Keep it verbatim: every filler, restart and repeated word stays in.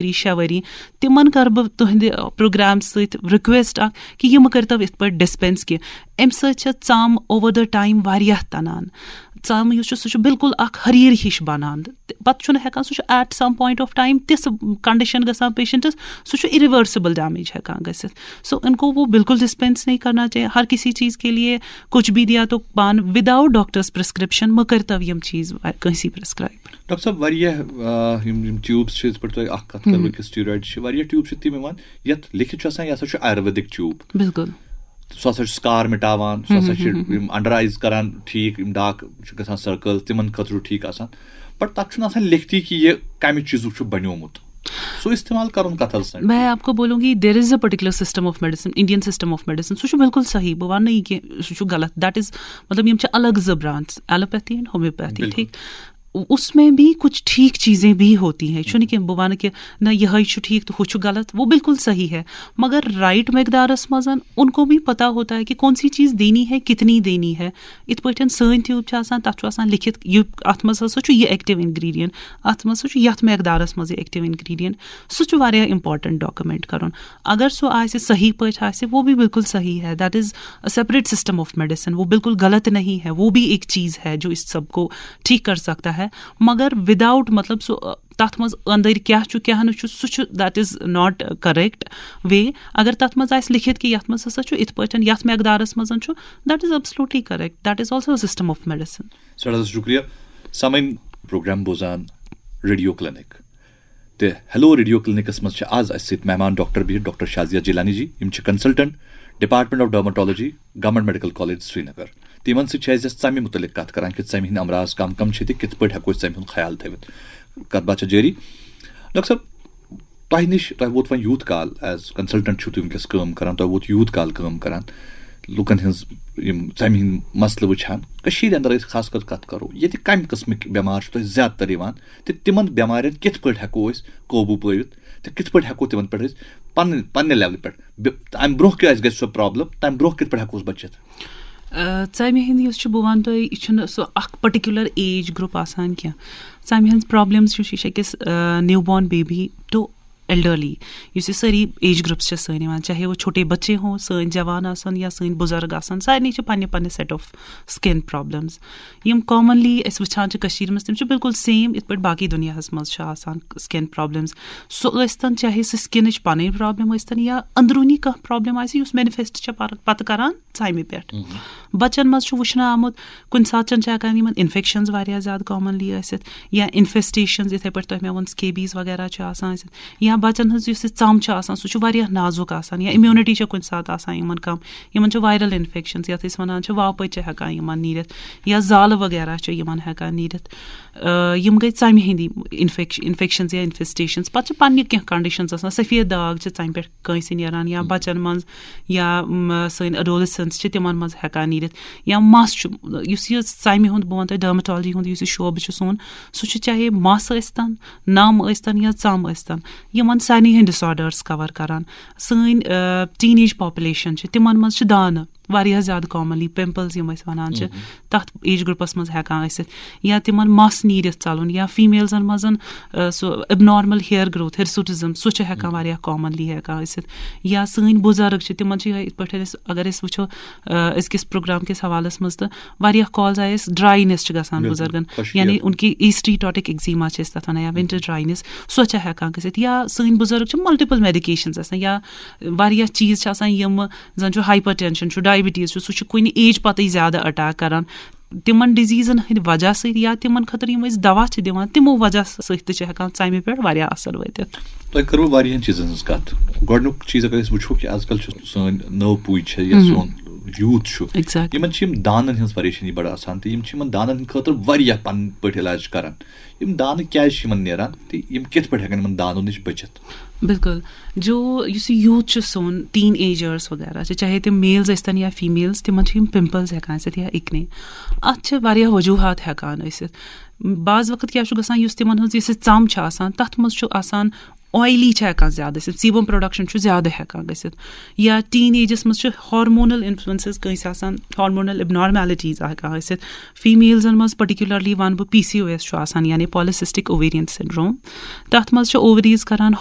ؤری، شےٚ ؤری، تِمن کرٕ بہٕ تُہنٛدِ پروگرام سۭتۍ رِکویسٹ اکھ کہِ یہِ مہٕ کٔرتو یِتھ پٲٹھۍ ڈسپینس کینٛہہ۔ امہِ سۭتۍ چھِ ژم اوور دا ٹایم واریاہ تنان۔ ژم یُس چھُ، سُہ چھُ بالکل اکھ ہریر ہِش بنان۔ تہٕ پتہٕ چھُنہٕ ہٮ۪کان، سُہ چھُ at some point of time تِژھ کنڈیشن گژھان پیشنٹس، سُہ چھُ irreversible damage ہٮ۪کان گٔژھِتھ۔ So ان کو وہ بالکل ڈسپینس نہیں کرنا چاہیے۔ ہر کسی چیز کے لیے کچھ بھی دیا تو پان، without doctor's prescription مہٕ کٔرتو یِم چیز کٲنٛسی پرسکرایب۔ ڈاکٹر صٲب، واریاہ آ، یِم یِم ٹیوٗبٕس چھِ، یِتھ پٲٹھۍ تۄہہِ اکھ کتھ کٔروٕ کہِ سٹیٖرایڈ چھِ، واریاہ ٹیوٗب چھِ تِم یِوان یتھ لیکھِتھ چھُ آسان، یہِ ہسا چھُ آیُرویدِک ٹیوٗب۔ بالکل۔ سُہ ہسا چھُ سکار مٹاوان، سُہ ہسا چھُ یِم انڈر آیز کران ٹھیٖک، یِم ڈاک چھِ گژھان سرکل، تِمن خٲطرٕ چھُ ٹھیٖک آسان۔ بٹ تتھ چھُنہٕ آسان لیکھتی کہِ یہِ کمہِ چیٖزُک چھُ بنیومُت۔ سُہ استعمال کرُن کتھ حظ سۭتۍ؟ میں آپ کو بولوں گی، there is a particular system of medicine, Indian system of medicine. سُہ چھُ بالکل صحیح، بہٕ وَنہٕ نہٕ یہِ کہِ سُہ چھُ غلط۔ That is، مطلب، یِم چھِ الگ زٕ برانچ، ایلوپیتھی اینڈ ہومیوپیتھی، بالکل۔ ٹھیٖک؟ اس میں بھی کچھ ٹھیک چیزیں بھی ہوتی ہیں۔ چھُنہٕ کینٛہہ بہٕ وَنہٕ کہِ نہ، یِہوٚے چھُ ٹھیٖک تہٕ ہُہ چھُ غلط، وہ بالکل صحیح ہے۔ مگر رائٹ مقدارس منٛز ان کو بھی پتہ ہوتا ہے کہ کون سی چیز دینی ہے، کتنی دینی ہے۔ یِتھ پٲٹھۍ سٲنۍ ٹیوٗب چھِ آسان، تَتھ چھُ آسان لیکھِتھ، یہِ، اَتھ منٛز ہسا چھُ یہِ ایکٹیو انگریڈینٹ، اَتھ منٛز ہسا چھُ یَتھ مقدارس منٛز یہِ ایکٹیو انگریڈینٹ۔ سُہ چھُ واریاہ امپورٹنٹ ڈاکومنٹ کرُن۔ اگر سُہ آسہِ صحیح پٲٹھۍ آسہِ، وہ بھی بالکل صحیح ہے۔ That is a separate system of medicine. وہ بالکل غلط نہیں ہے، وہ بھی ایک چیز ہے جو اس سب کو ٹھیک کر سکتا ہے۔ مگر وداؤٹ، مطلب، سُہ تَتھ منٛز أنٛدٕرۍ کیٛاہ چھُ کیٛاہ نہٕ چھُ، سُہ چھُ، that is not correct way. اگر تَتھ منٛز آسہِ لیکھِتھ کہِ یَتھ منٛز ہسا چھُ یِتھ پٲٹھۍ، یَتھ مقدارس منٛز چھُ، that is absolutely correct. That is also a system of medicine. سٮ۪ٹھاہ حظ شُکریہ۔ سامعیٖن، پروگرام بوزان ریڈیو کلینک تہٕ ہیلو ریڈیو کلینکس منٛز چھِ آز اَسہِ سۭتۍ مہمان ڈاکٹر بِہِتھ ڈاکٹر شازیہ جیلانی جی۔ یِم چھِ consultant department of dermatology, government medical college Srinagar. تہٕ یِمن سۭتۍ چھِ أسۍ ژمہِ متعلق کتھ کران کہِ ژمہِ ہٕنٛدۍ امراض کم کم چھِ تہٕ کِتھ پٲٹھۍ ہٮ۪کو أسۍ ژمہِ ہُنٛد خیال تھٲوِتھ۔ کتھ باتھ چھےٚ جٲری۔ ڈاکٹر صٲب، تۄہہِ نِش، تۄہہِ ووت وۄنۍ یوٗت کال ایز کنسلٹنٹ چھِو تُہۍ وٕنکیٚس کٲم کران، تۄہہِ ووت یوٗت کال کٲم کران، لُکن ہٕنٛز یِم ژمہِ ہٕنٛدۍ مسلہٕ وٕچھان۔ کٔشیٖرِ اندر أسۍ خاص کر کتھ کرو، ییٚتہِ کمہِ قٕسمٕکۍ بٮ۪مار چھِ تۄہہِ زیادٕ تر یِوان تہٕ تِمن بٮ۪مارٮ۪ن کِتھ پٲٹھۍ ہٮ۪کو أسۍ قوبوٗ پٲوِتھ تہٕ کِتھ پٲٹھۍ ہٮ۪کو تِمن پٮ۪ٹھ أسۍ پننہِ، پننہِ لیولہِ پٮ۪ٹھ بِ-، امہِ برونٛہہ کہِ اَسہِ گژھِ سۄ پرابلم، تمہِ برونٛہہ کِتھ پٲٹھۍ ہٮ۪کو أسۍ بٔچِتھ؟ آ، ژمہِ ہٕنٛدۍ یُس چھُ، بہٕ وَنہٕ تۄہہِ، یہِ چھُنہٕ سُہ اکھ پٔٹِکیوٗلر ایج گروپ آسان کینٛہہ۔ ژمہِ ہٕنٛز پرابلمز چھُ، یہِ چھُ أکِس نیو بارن بیبی ٹو ایلڈرلی، یُس یہِ سٲری ایج گروپس چھِ سٲنۍ یِوان، چاہے وہ چھوٹے بچے ہوں، سٲنۍ جوان آسن یا سٲنۍ بُزرگ آسن، سارنٕے چھِ پننہِ پننہِ سیٹ آف سکن پرابلمز۔ یِم کامنلی أسۍ وٕچھان چھِ کٔشیٖرِ منٛز، تِم چھِ بالکل سیم یِتھ پٲٹھۍ باقٕے دُنیاہس منٛز چھِ آسان سکن پرابلمز۔ سُہ ٲسۍ تن، چاہے سُہ سکنٕچ پنٕنۍ پرابلم ٲسۍ تن یا أنٛدروٗنی کانٛہہ پرابلم آسہِ یُس مینیفیسٹ چھِ پر-، پتہٕ کران ژمہِ پٮ۪ٹھ۔ بچن منٛز چھُ وٕچھنہٕ آمُت، کُنہِ ساتہٕ چھِ ہٮ۪کان یِمن انفیکشنز واریاہ زیادٕ کامنلی ٲسِتھ، یا انفیسٹیشنز، یِتھے پٲٹھۍ تۄہہِ مےٚ ووٚن، سکیبیز وغیرہ چھِ آسان ٲسِتھ، یا بچن ہٕنٛز یُس یہِ ژم چھِ آسان، سُہ چھُ واریاہ نازُک آسان، یا امیونٹی چھِ کُنہِ ساتہٕ آسان یِمن کم، یِمن چھِ وائرل انفیکشنز، یتھ أسۍ ونان چھِ واپٕچ چھِ ہٮ۪کان یِمن نیٖرِتھ، یا زالہٕ وغیرہ چھِ یِمن ہٮ۪کان نیٖرِتھ۔ آ، یِم گٔے ژمہِ ہٕنٛدی انفیکش-، انفیکشنز یا انفیسٹیشنز۔ پتہٕ چھِ پننہِ کینٛہہ کنڈیشنز آسان، سفید داغ چھِ ژمہِ پٮ۪ٹھ کٲنٛسہِ نیران، یا بچن منٛز، یا، م، سٲنۍ اڈولسنٹس چھِ تِمن منٛز ہٮ۪کان نیٖرِتھ، یا مس چھُ، یُس یہِ ژمہِ ہُنٛد، بہٕ وَنہٕ تۄہہِ ڈرمٹالجی ہُنٛد یُس یہِ شعبہٕ چھُ سون، سُہ چھُ چاہے مس ٲسۍ تن، نم ٲسۍ تن یا ژم ٲسۍ تن، یِمن سارنٕے ہٕنٛدۍ ڈس آرڈرس کور کران۔ سٲنۍ، آ، ٹین ایج پاپولیشن چھِ، تِمن منٛز چھِ دانہٕ واریاہ زیادٕ کامنلی، پمپلز یِم أسۍ ونان چھِ، تتھ ایج گروپس منٛز ہٮ۪کان ٲسِتھ، یا تِمن مس نیٖرِتھ ژلُن، یا فیمیلزن منٛز، آ، سُہ ابنارمل ہیئر گروتھ، ہرسوٹزم، سُہ چھُ ہٮ۪کان واریاہ کامنلی ہٮ۪کان ٲسِتھ۔ یا سٲنۍ بُزرگ چھِ، تِمن چھِ یِہے، یِتھ پٲٹھۍ أسۍ، اگر أسۍ وٕچھو، آ، أزکِس پروگرام کِس حوالس منٛز، تہٕ واریاہ کالز آیہِ اَسہِ، ڈراینس چھِ گژھان بُزرگن، یعنی ان کی ایسٹی ٹاٹک ایگزیما چھِ أسۍ تتھ ونان، یا ونٹر ڈراینس، سۄ چھِ ہٮ۪کان گٔژھِتھ۔ یا سٲنۍ بُزرگ چھِ ملٹیپل میڈیکیشنز آسان، یا واریاہ چیٖز چھِ آسان، یِم زن چھُ ہائپر ٹینشن چھُ، ڈائبٹیز چھُ، سُہ چھُ کُنہِ ایج پتے زیادٕ اٹیک کران۔ تِمن ڈیزیزن ہٕنٛدِ وجہ سۭتۍ یا تِمن خٲطرٕ یِم أسۍ دوا چھِ دِوان، تِمو وجہ سۭتۍ تہِ چھِ ہٮ۪کان ژمہِ پٮ۪ٹھ واریاہ اثر وٲتِتھ۔ تۄہہِ کٔروٕ واریاہن چیٖزن ہٕنٛز کتھ۔ گۄڈٕنیُک چیٖز اگر أسۍ وٕچھو کہِ آز کل چھِ سٲنۍ نٔو پُے چھےٚ یا سون یوٗتھ چھُ، یِمن چھِ یِم دانن ہٕنٛز پریشٲنی بڑٕ آسان تہٕ یِم چھِ یِمن دانن ہٕنٛدِ خٲطرٕ واریاہ پنٕنۍ پٲٹھۍ علاج کران۔ یِم دانہٕ کیازِ چھِ یِمن نیران تہٕ یِم کِتھ پٲٹھۍ ہٮ۪کن یِمن دانو نِش بٔچِتھ؟ بالکل۔ جو یُس یہِ یوٗتھ چھُ سون، ٹین ایجرس وغیرہ چھِ، چاہے تِم میلز ٲسۍ تن یا فیمیلز، تِمن چھِ یِم پمپلز ہٮ۪کان ٲسِتھ یا اِکنی۔ اتھ چھِ واریاہ وجوہات ہٮ۪کان ٲسِتھ۔ بعض وقت کیٛاہ چھُ گژھان، یُس تِمن ہٕنٛز یُس یہِ ژم چھِ آسان، تتھ منٛز چھُ آسان آیلی چھِ ہٮ۪کان زیادٕ ٲسِتھ، سیبم پروڈکشن چھُ زیادٕ ہٮ۪کان گٔژھِتھ، یا ٹین ایجس منٛز چھُ ہارمونل انفلوئنسز کٲنٛسہِ آسان، ہارمونل ابنارمیلٹیز ہٮ۪کان ٲسِتھ۔ فیمیلزن منٛز پرٹیکولرلی ونہٕ بہٕ پی سی او ایس چھُ آسان، یعنی پالیسسٹک اوویرین سنڈروم۔ تتھ منٛز چھِ اووریز کران